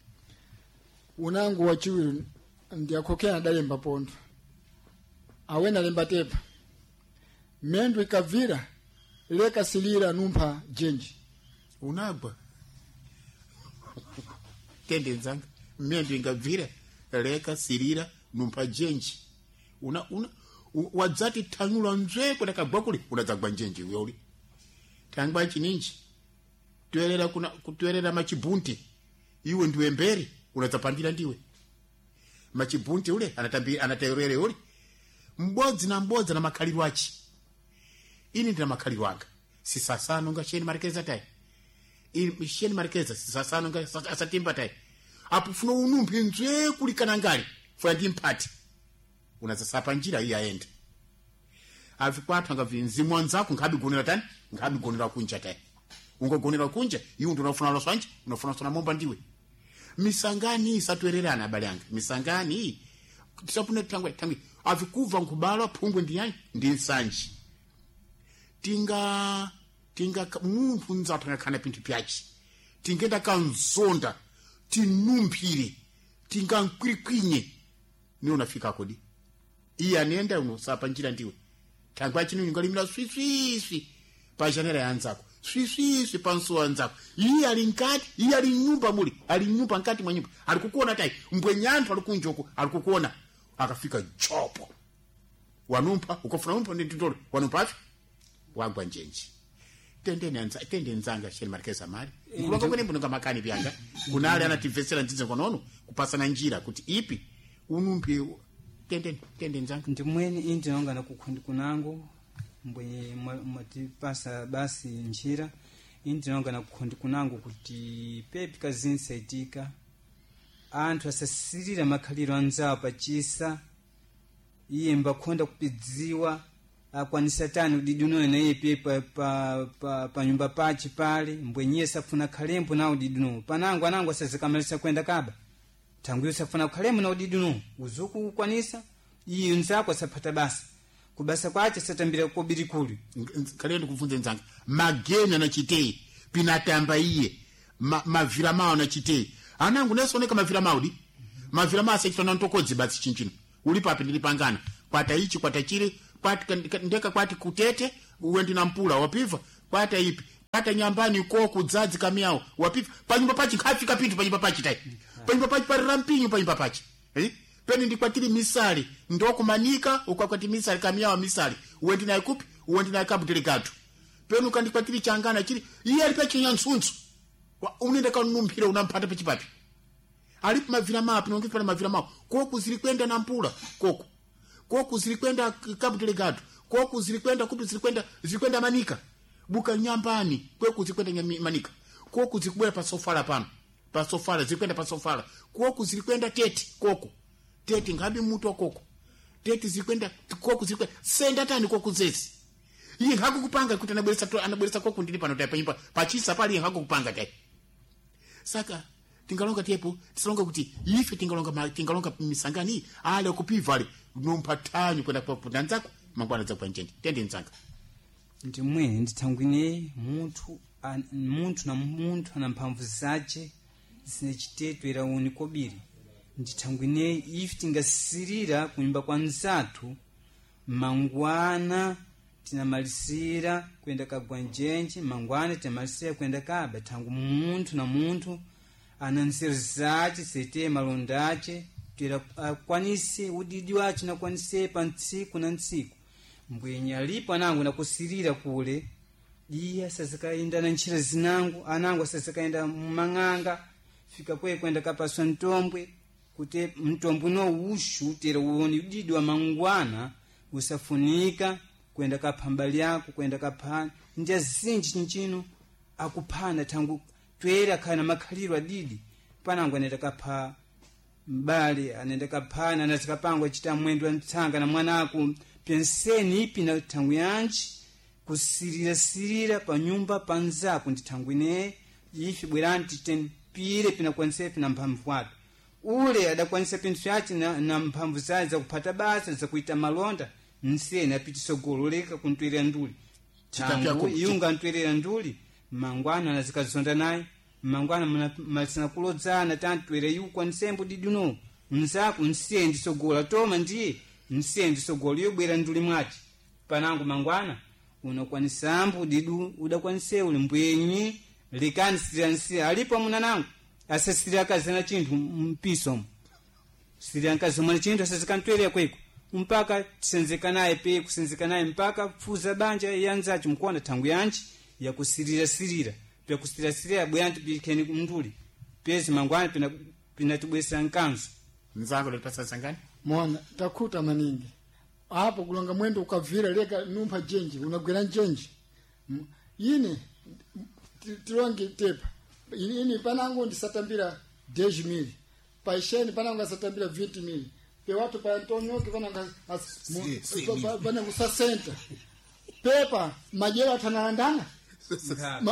unango wachiwiri ndiyakhokera adalemba pontho awena lemba tepa mendo ikabvira leka silira numpha jenji unagwa tende nzanga mendo ingabvira leka silira numpha jenji una wadzati thanyula nzwe kudakagwa kuli unadzagwa njenje uyoli thangwa chininji toerera kuna kutoerera machibunti iwe ndiwe mberi unadzapandira ndiwe machibunti ule anatambi anaterere ule mbodzi na mbodzi na makhaliro achi ini ndina makhaliro anga sisasano nga sheni marikeza tai ini sheni marikeza sisasano nga asatimba tai apo funo unumphi nzwe kulikana ngali funa ndi mphati unadzasapa njira iyi aende avikwathu angavi mzimu wanzako nkhabigonera tani nkhabigonera kunja tani ungogonera kunja iwe ndi unafuna loswanje unafuna sona momba ndiwe misangani isatwererana abale anga misangani iyi tisapune thangwe thangwe avikuva nkhubalwa phungwe ndi yani ndi nsanji tinga tinga munthu nzathu angakhana pinthu pyachi tingenda kanzonda tinumphire tingankwirikwinye niwe unafika kodi iye anenda unosapa njira ndiwe thangwe achino ungalimira swiswiswi pa janela ya anzako swiswiswi pa msuwa anzako iye ali nkati iye ali nyumba muli ali nyumba nkati mwa nyumba ali kukuona tai mbwenyanthu ali kunjoko ali kukuona akafika jopo wanumpha ukafuna umpha ndi nditolo wanumpha afi wagwa njenji tendeni anza tende nzanga sheni markeza mali nkulonga kwene mbunonga makani pyanga kunali anatimvetsera ndidze konono kupasana njira kuti ipi unumphi tendeni tende nzanga ndimweni indi ndinonga nakukhundi kunango mbwenye mwatipasa basi njira indi ndinonga nakukhundi kunango kuti pepi kazinsaitika anthu asasirira makhaliro anzawo pachisa iye mbakhonda kupidziwa akwanisa tani udidi unoyo naye pe pa nyumba pache pale mbwenyiye safuna khalembo na udidi unowo panango anango asazikamalisa kwenda kaba thangwiyo safuna khalembo na udidi unowo uzuku ukwanisa iye nzako asaphata basa kubasa kwache satambira kobiri kuli kale ndikubvunze nzanga mageni anachitei pinatamba iye mavira mawo anachitei anangu nesoneka mavira mawo di mavira mawo asachitana ntokodzi batsi chinchino uli papi ndili pangana Kwata ichi, kwata chile, kwati ndeka, kwati kutete uwendi na mpula wapiva, kwata ipi, kwata nyambani koku dzadzi kamiyawo wapiva. Panyumba pachi khafika pintu panyumba pachi tai panyumba pachi parira mpinyu panyumba pachi, eh? Peni ndikwatiri misali ndokumanika ukakwati misali kamiyawa misali uwendi naye kupi, uwendi naye Cabo Delgado. Peni ukandikwatiri changana chili iye ali pachinyansuntsu unenda kanumphira unamphata pachipapi alipo mavira mapi nonge pala mavira mapo koku zili kwenda na mpula koku koku zili kwenda Cabo Delgado, koku zili kwenda kupi, zili kwenda, zili kwenda manika buka nyambani kweku zili kwenda manika koku zikubwera pa sofala pano pa sofala zili kwenda pa sofala koku zili kwenda tete koku tete ngabi mutu wa koko tete zili kwenda koku zili kwenda senda tani koku zezi iye hakukupanga kuti anabweresa anabweresa koku ndili pano tai panyumba pachisa pali iye hakukupanga tai. Saka tingalonga tepo tisalonga kuti ife tingalonga tingalonga misangani ale kupiva ale nompathanyu kwenda kwa nzako mangwana dzakwa njenje tende nzanga. Ndimwene ndithangwine munthu munthu na munthu ana mphamvu zace zine chitetwera uni kobiri. Ndithangwine ife tingasirira kunyumba kwa nzathu mangwana tinamalisira kwenda kagwa njenje, mangwana tinamalisira kwenda kaba thangu munthu na munthu ana nzeru zace zete malonda ace tera akwanise udidi wace nakwanise pa ntsiku na ntsiku. Mbwenye alipo anangu nakusirira kule iye asazikayenda na ntchito zinangu anangu asazikayenda mumang'anga fika kwe kwenda kapaswa mtombwe kuti mtombwe no ushu tera uone udidi wa mangwana usafunika kwenda kapha mbali yako kwenda kapha nja zinji chinchino akuphana thangu twere akhala na makhaliro adidi panangu anenda kapha mbali anenda kaphana anazikapangwa chita mwendo wa mtsanga na mwanako penseni ipi na thangu yanji kusirirasirira pa nyumba panzako ndi thangu ine ife bwerani titempire pinakwanise pina mphamvu watu ule adakwanisa pinthu vyace na mphamvu zace zakuphata basa zakuita malonda nseni apitisogolo leka kuntwerera nduli tangu iunga ntwerera nduli mangwana anazikazonda naye mangwana malisana kulodzana tantwere iu nsembo diduno mzako nsiye sogola toma ndiye nsiye ndisogola iyo bwera nduli mwace panangu mangwana unakwanisambu didu udakwanise uli mbwenyi lekani siriansiya alipo amuna nangu asasiri akazana chinthu mpisomo siri ankazomwana chinthu asazikantwerera kweko mpaka tisenzeka naye pe kusenzeka naye mpaka pfuza banja yanzacho mukuona thangu yanji yakusirirasirira pyakusirirasirira bweyanti pikheni mnduli pezi mangwana pinatibwesera nkanzo nzango lipasa sangani mona takhuta maningi apo kulonga mwendo ukavira leka numpha jenji unagwera njenji ine tilonge tepa ini panangu ndisatambira 10 mili paisheni panangu asatambira 20 mili pewatu pa Antonioke panangu panangu sasenta pepa majera atanalandana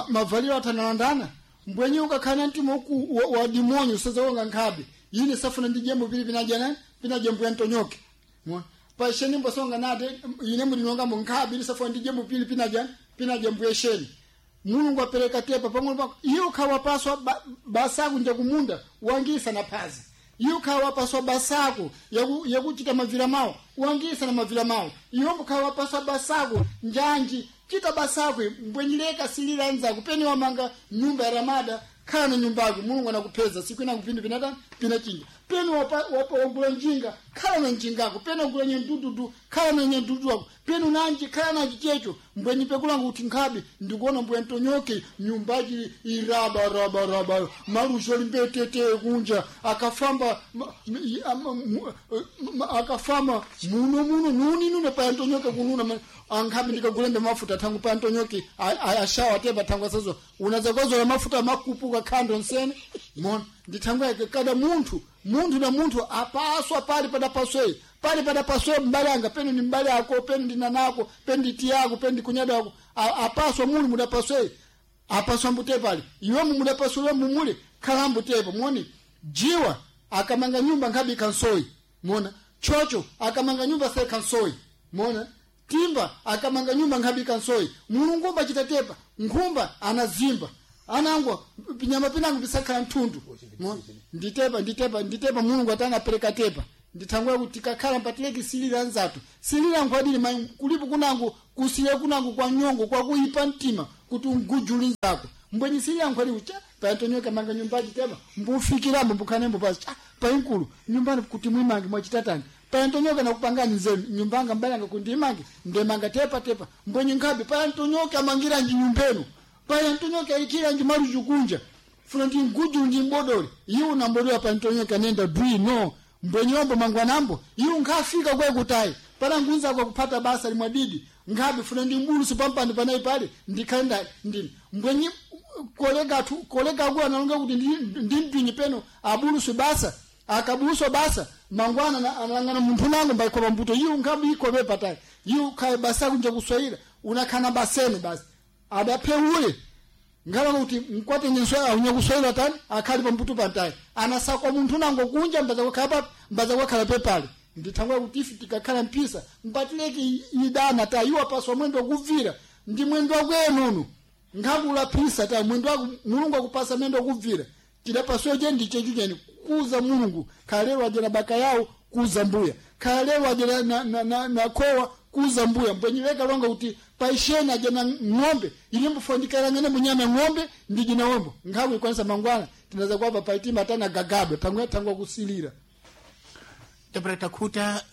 mavaliro atanalandana mbwenye ukakhala mtima uku wa dimonyo usazawonga nkhabe ine safuna ndi jembo pili pinajana pinajembo ya Antonioke paisheni mbosonga nate ine mulinonga munkhabe ine safuna ndi jembo pili pinajana pinajembo yesheni Mulungu apereka tepa pang'ono pako iye ukhawa paswa basaku nja kumunda wangisa na phazi iye ukhawa paswa basako yakuchita mavira mawo wangisa na mavira mawo iwe ukhawa paswa basako njanji chita basako mbwenyileka silila nzako peni wamanga nyumba ya ramada khala na nyumba yako Mulungu anakupeza siku ina kupindu pinata pinachinja peni wapa wagula njinga khala na njingako peni wagula nyendududu khala na nyendudu wako peni unanji khala na checho mbwenyi pekulanga kuti nkhabe ndikuona mbwe ntonyoke nyumbaji iraba raba raba marusho limbetete kunja akafamba akafamba muno muno nuni nune pa ntonyoke kununa ankhabe ndikagulembe mafuta thangu pa ntonyoke ashawa tepa thangu asazo unazakozola mafuta makupuka khando nsene mona ndithangu yake kada munthu munthu na munthu apaswa pali padapaswei pali padapaswe mbali anga penu ni mbali ako penu ndinanako penu nditi yako penu ndikunyada ako apaswa muli mudapaswei apaswa mbute pali iwemu mudapasule mumule khala mbutepo moni jiwa akamanga nyumba nkhabi kansoi mona chocho akamanga nyumba se kansoi mona timba akamanga nyumba nkhabi kansoi mulungu mbachitatepa nkhumba anazimba anangwa pinyama pinangu pisakhala mthundu nditepa nditepa nditepa Mulungu atanga apereka tepa Ndithangwe kuti tikakhala mpatileki silira nzathu silira nkhwadili mayi kulipo kunango kusilira kunango kwa nyongo kwakuipa mtima kuti ungujuli nzako mbwenyi silira nkhwadili cha payantonyoka manga nyumbaji tema mbufikirambo mbukhanembo pasi cha painkulu nyumbani kuti mwimange mwachitatani payantonyoka nakupangani nzenu nyumbanga mbalanga kundimange ndemanga tepa tepa mbwenyi nkhabe payantonyoka amangiranji nyumbenu payantonyoka alikiranji malujukunja funa ndi nguju ndi mbodole iwo nambodola payantonyoka nenda dwi no mbwenyombo mangwanambo iwo nkhafika kwekutayi pana ngunza kwa kupata basa limwadidi nkhabe funa ndi mbulusu pampando panayi pale ndikhale ndini mbwenyi kolega tu kolega ku analonga kuti ndi mpinyi peno abulusu basa akabuluswa basa mangwana analangana munthu nango mbaikopa mbuto iwo nkhabe ikope patayi iwo khaye basa kunja kuswahila unakhana basene basi adapeule ngala kuti mkwate nyenswa aunya kuswahila tani akhali pambuto pantayi anasakwa munthu nango kunja mbaza kwakhala papi mbaza kwakhala pepale ndithangwa kuti ife tikakhala mpisa mpatileki idana ta iwo apaswa mwendo wakubvira ndi mwendo wakuenono ngakula phisa ta mwendo wako Mulungu akupasa mwendo wakubvira tidapaswa je ndiche chujeni kuza Mulungu khalero ajera baka yawo kuza mbuya khalero ajera na kowa kuza mbuya mbwenyeweka longa kuti paisheni ajena ng'ombe ilimbufondikala munyama ng'ombe ndijina ombo nkhaku ikwanisa mangwana tinaza kwapa paitima tana gagabe pamwe tangwa kusilira Tapera takuta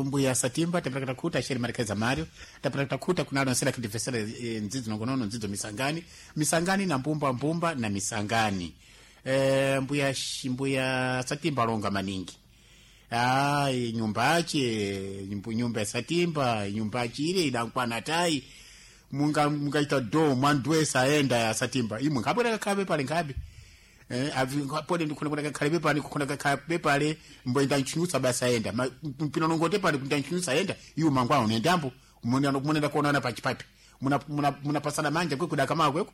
mbuya Satimba, tapera takuta Sheri Markeza Mario, tapera takuta kunalo nsela kidifesera nzidzo nongonono nzidzo misangani, misangani na mbumba mbumba na misangani. Mbuya Satimba longa maningi. Ai nyumbache, nyumba ya Satimba, nyumba chile idankwana tai. Munga mungaita do mwandwesa aenda ya Satimba. Imwe ngabwera kabe pale ngabe. Pode ndikuna kuna kakhale pale kuna kakhale pale mboenda nchinyusa basa enda mpino nongote pale kunta nchinyusa enda iwo mangwana unendambo munenda kuonana pachipapi muna pasana manja kwe kudaka makweko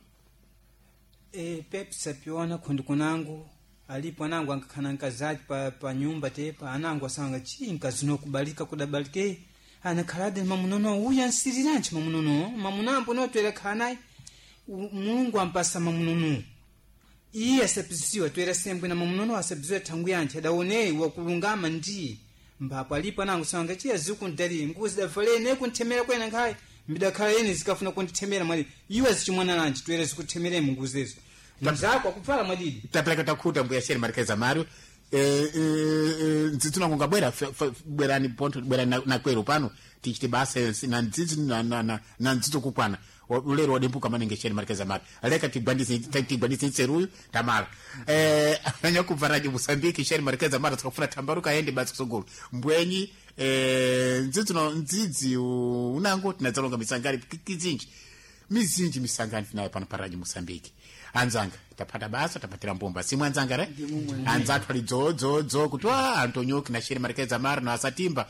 Pepsa piona kundi kunangu alipo anangu ankakhana nkazaji pa nyumba tepa anangu asanga chi nkazino kubalika kudabalike anakhalade mamunono uya nsiriranji mamunono mamunambo notwera khanayi Mulungu ampasa mamunono iye asapizisiwa twera sembwe na mamunono asapizisiwa thangu yanthu adaone wakulungama ndi mbapo alipo anangu sanga chiya zikundali nguzi davalene kunthemera kwena nkhayi mbidakhala yene zikafuna kundithemera mwali iwe zichimwana lanji twera zikuthemeremo nguzezo mzako akupfala mwadidi tapeleka takhuta mbuya Sheri Markeza Mario ndzidzi nango ngabwera bwerani ponto bwerani na kwero pano tichite basa na ndzidzi na ndzidzo kukwana ulero wadempuka maningi Sheri Markeza Mario leka tigwandise nseruyu tamala ananya kubva radio Mosambiki Sheri Markeza Mario tikafuna tambaruka aende basi kusogolo mbwenyi ndzidzi no ndzidzi unango tinadzalonga misangani kizinji mizinji misangani tinayo pano pa radio Mosambiki anzanga tapata basa tapatira mbumba simwe anzanga re anzathu ali dzodzo kuti wa Antonioki na Sheri Markeza Mara na Asatimba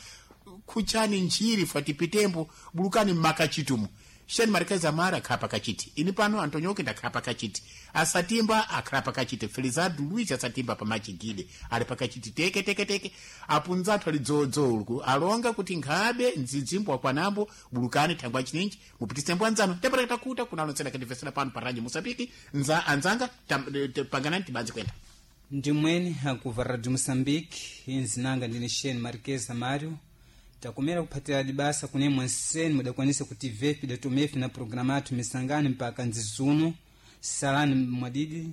kuchani njiri fatipitembo bulukani mmakachitumu Sheri Markeza Mara akhala pakachiti ini pano Antonioki ndakhala pakachiti Asatimba akhala pakachiti Felizardo Luis Asatimba pamachigile ali pakachiti teke teke teke apunzathu ali dzodzo uku alonga kuti nkhabe ndzidzimbo akwanambo bulukani thangwa chininji mupitise mbwanzano tapata takuta kunalonsera kadivesera pano pa radio Mosambiki nza anzanga panganani tibanzi kwenda ndimweni akuva radio Mosambiki inzinanga ndine Sheni Markeza Mario takumera kuphatira dibasa kunemwe nseni mudakwanisa kuti vepi datomefi na programa athu misangani mpaka nzizuno salani mwadidi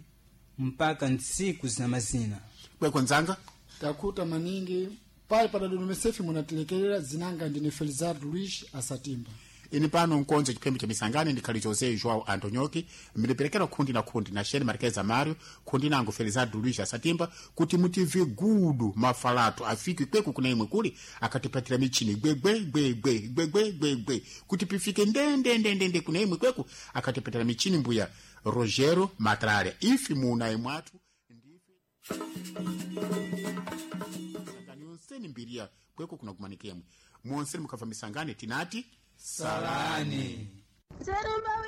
mpaka ntsiku zina mazina kweko nzanga Takuta maningi pale padadodomesefi munatilekerera zinanga ndine Felizardo Luis Asatimba ini pano nkonzo chiphembe cha misangani ndikhali Jose Joao Antonioki mliperekera khundi na khundi na Sheri Markeza Mario khundi nango Felizardo Luis Asatimba kuti mutive gudu mafalato afike kweku kuna imwe kuli akatipatira michini gwegwe gwegwe gwegwe gwegwe kuti pifike ndende ndende ndende kuna imwe kweku akatipatira michini mbuya Rogero Matrale ifi muna imwatu misangani yonseni mbiria kweko kuna kumanikemwe mwonseni mukabva misangani tinati salani Serumba